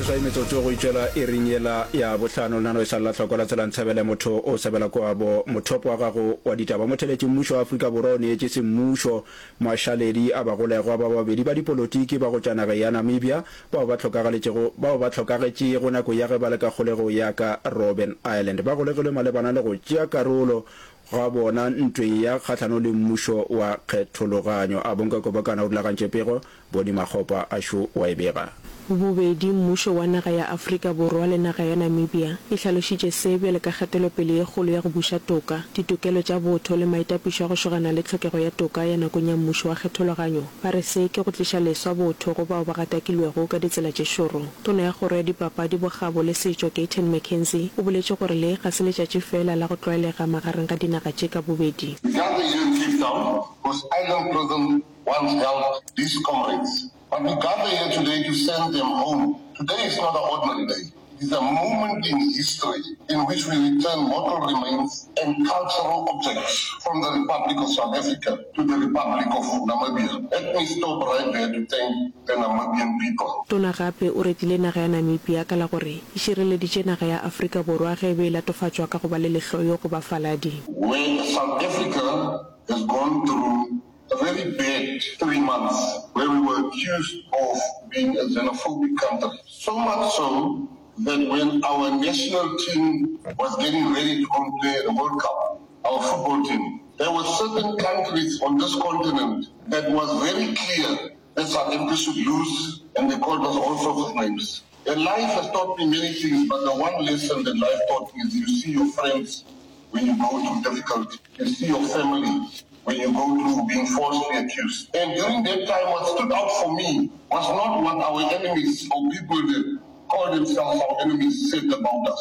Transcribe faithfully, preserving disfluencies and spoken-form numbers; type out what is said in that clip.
Lesomeseswai metsotso go itšwela iring yela ya bohlano. Lenaneo e sa lela hloko la tsela ntshebele motho o sebela kwabo. Mothopo wa gago wa ditaba motheletši mmušo wa Afrika Borwa o neetše semmušo mašaledi a bagolegwa ba babedi ba dipolotiki ba go tšwa nageng ya Namibia bao ba hlokagaletšego bao ba hlokagetšego nako ya ge ba le ka kgolegong ya ka Robben Island. Ba golegilwe malebana le go tšea karolo ga bona ntweng ya kgahlano le mmušo wa kgethologanyo. A Bonke Kobokana o rulagantše pego, Boni Makgopa a šo wa e bega. Bobedi mmušo wa naga ya Afrika Borwa le naga ya Namibia di hlalošitše se bjalo ka kgatelopele ye kgolo ya go buša toka, ditokelo tša botho le maitapišo a go šogana le tlhokego ya toka ya nakong ya mmušo wa kgethologanyo. Ba re se ke go tliša leswa botho go bao ba gatakilwego ka ditsela tše šoro. Tona ya Kgoro ya Dipapadi, Bokgabo le Setšo, Gayton McKenzie, o boletše gore le ga se letšatši feela la go tlwaelega magareng ga dinaga tše ka bobedi. We gather here in Cape Town, whose island prison once held these comrades. But we gather here today to send them home. Today is not an ordinary day. It is a moment in history in which we return mortal remains and cultural objects from the Republic of South Africa to the Republic of Namibia. Let me stop right there to thank the Namibian people. Tona gape o retile naga ya Namibia ka la gore e šireleditše naga ya Afrika Borwa ge e be e latofatšwa ka go ba le lehloyo go bafaladi. Where South Africa has gone through a very bad three months where we were accused of being a xenophobic country. So much so that when our national team was getting ready to go and play the World Cup, our football team, there were certain countries on this continent that was very clear that South Africa should lose, and they called us all sorts of names. And life has taught me many things, but the one lesson that life taught me is you see your friends when you go through difficulty, you see your family when you go through being falsely accused. And during that time, what stood out for me was not what our enemies or people that call themselves our enemies said about us.